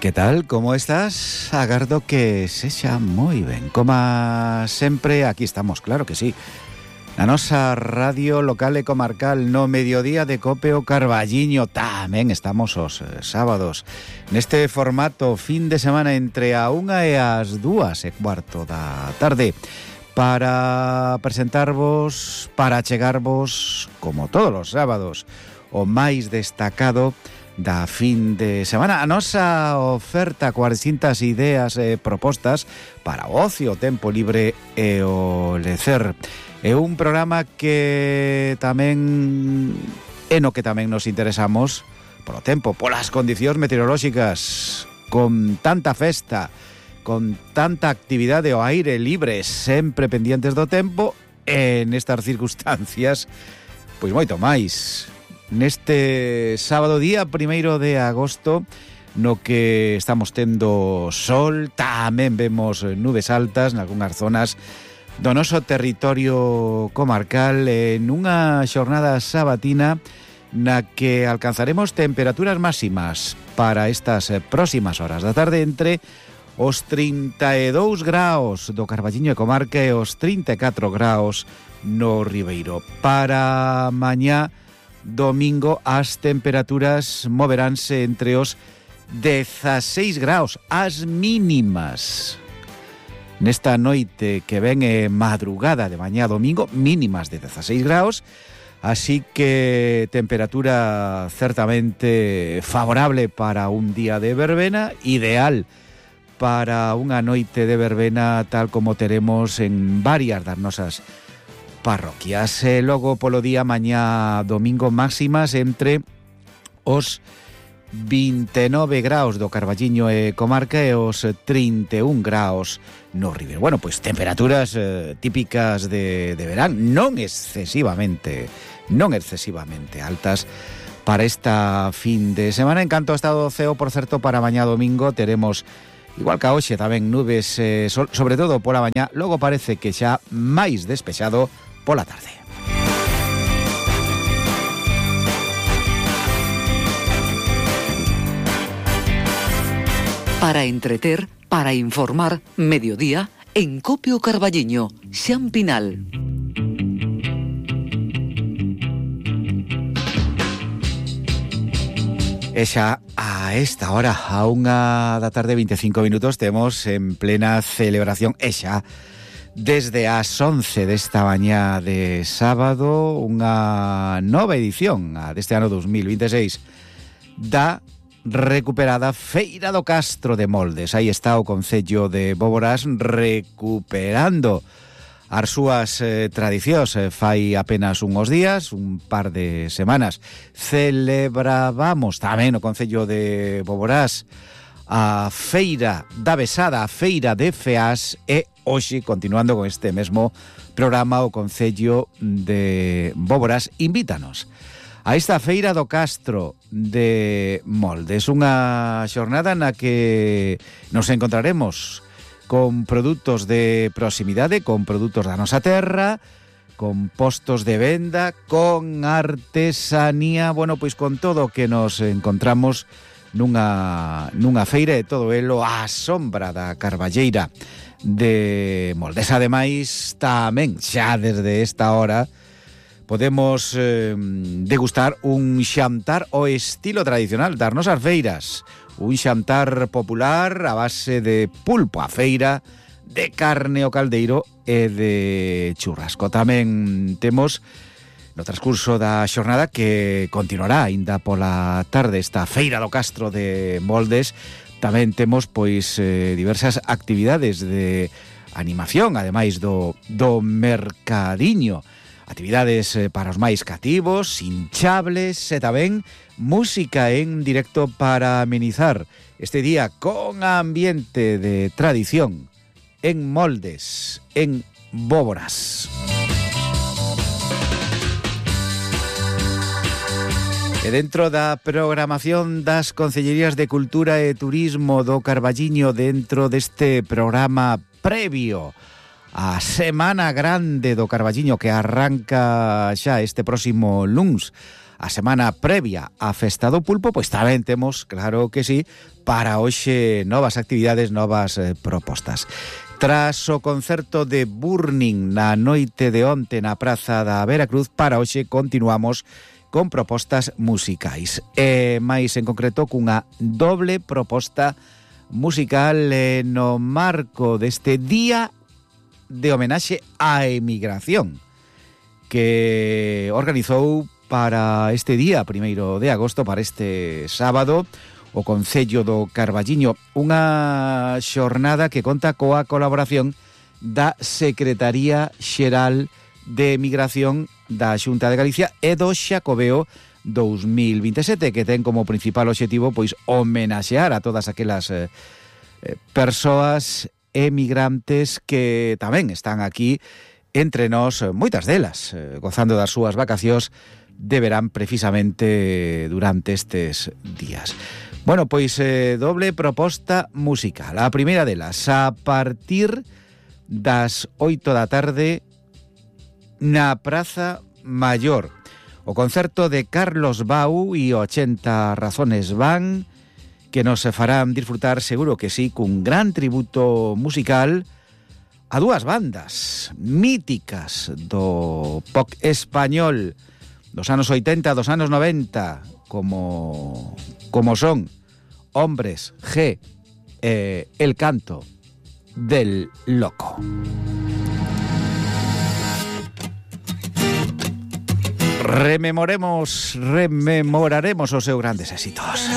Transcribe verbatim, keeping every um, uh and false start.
Que tal? Como estás? Agardo que sexa moi ben. Como sempre, aquí estamos, claro que sí. Na nosa radio local e comarcal no mediodía de Cope o Carballiño. Tamén estamos os eh, sábados neste formato fin de semana entre a unha e as dúas e cuarto da tarde para presentarvos, para chegarvos, como todos os sábados, o máis destacado da fin de semana. A nosa oferta, cuatrocentas ideas e propostas para o ocio, o tempo libre e o lecer. É un programa que tamén é no que tamén nos interesamos polo tempo, polas condicións meteorolóxicas, con tanta festa, con tanta actividade ao aire libre, sempre pendientes do tempo, e nestas circunstancias, pois moito máis. Neste sábado día primeiro de agosto, no que estamos tendo sol, tamén vemos nubes altas nalgúnas zonas do noso territorio comarcal, en unha xornada sabatina na que alcanzaremos temperaturas máximas para estas próximas horas da tarde entre os trinta e dous graus do Carballiño e comarca e os trinta e catro graus no Ribeiro. Para mañá domingo as temperaturas moveránse entre os dezaseis graus, as mínimas. Nesta noite que ven é madrugada de mañá domingo, mínimas de dezaseis graus, así que temperatura certamente favorable para un día de verbena, ideal para unha noite de verbena tal como teremos en varias das nosas parroquias. E logo polo día mañá domingo máximas entre os vinte e nove graus do Carballiño e comarca e os trinta e un graus no Ribeiro. Bueno, pois temperaturas eh, típicas de, de verán, non excesivamente, non excesivamente altas para esta fin de semana. En canto ao estado do ceo, por certo, para mañá domingo teremos, igual que a hoxe, tamén nubes, eh, sol, sobre todo pola mañá, logo parece que xa máis despexado pola tarde. Para entreter, para informar, mediodía, en Cope o Carballiño, Xan Pinal. E xa a esta hora, a unha da tarde vinte e cinco minutos, temos en plena celebración, e xa desde as once desta mañá de sábado, unha nova edición a deste ano dos mil veintiséis da recuperada Feira do Castro de Moldes. Aí está o Concello de Boborás recuperando as súas eh, tradicións. Eh, fai apenas unhos días, un par de semanas, celebrábamos tamén o Concello de Boborás a Feira da Besada, a Feira de Feás, e hoxe, continuando con este mesmo programa, o Concello de Boborás invítanos a esta Feira do Castro de Moldes, unha xornada na que nos encontraremos con produtos de proximidade, con produtos da nosa terra, con postos de venda, con artesanía, bueno, pois con todo o que nos encontramos nunha, nunha feira, e todo elo á sombra da Carballeira de Moldes. Ademais, tamén, xa desde esta hora, podemos eh, degustar un xantar ao estilo tradicional das nosas feiras, un xantar popular a base de pulpo a feira, de carne ao caldeiro e de churrasco. Tamén temos no transcurso da xornada, que continuará aínda pola tarde, esta Feira do Castro de Moldes, tamén temos pois eh, diversas actividades de animación, ademais do, do mercadiño, actividades para os máis cativos, hinchables e tamén música en directo para amenizar este día con ambiente de tradición en Moldes, en Boborás. E dentro da programación das Concellerías de Cultura e Turismo do Carballiño, dentro deste programa previo a Semana Grande do Carballiño, que arranca xa este próximo luns a semana previa á Festa do Pulpo, pois tamén temos, claro que sí, para hoxe novas actividades, novas eh, propostas. Tras o concerto de Burning na noite de onte na Praza da Veracruz, para hoxe continuamos con propostas musicais. E máis en concreto cunha doble proposta musical eh, no marco deste Día de Homenaxe á Emigración que organizou para este día, primeiro de agosto, para este sábado, o Concello do Carballiño, unha xornada que conta coa colaboración da Secretaría Xeral de Emigración da Xunta de Galicia e do Xacobeo dos mil veintesete, que ten como principal obxectivo pois homenaxear a todas aquelas eh, persoas emigrantes que tamén están aquí entre nós, moitas delas, eh, gozando das súas vacacións de verán precisamente durante estes días. Bueno, pois eh, doble proposta musical. A primeira delas, a partir das oito da tarde na Praza Maior. O concerto de Carlos Bau e ochenta razones van, que nos farán disfrutar, seguro que sí, cun gran tributo musical a dúas bandas míticas do pop español dos anos oitenta, dos anos noventa, como, como son Hombres G e El Canto del Loco. Rememoremos, rememoraremos os seus grandes éxitos.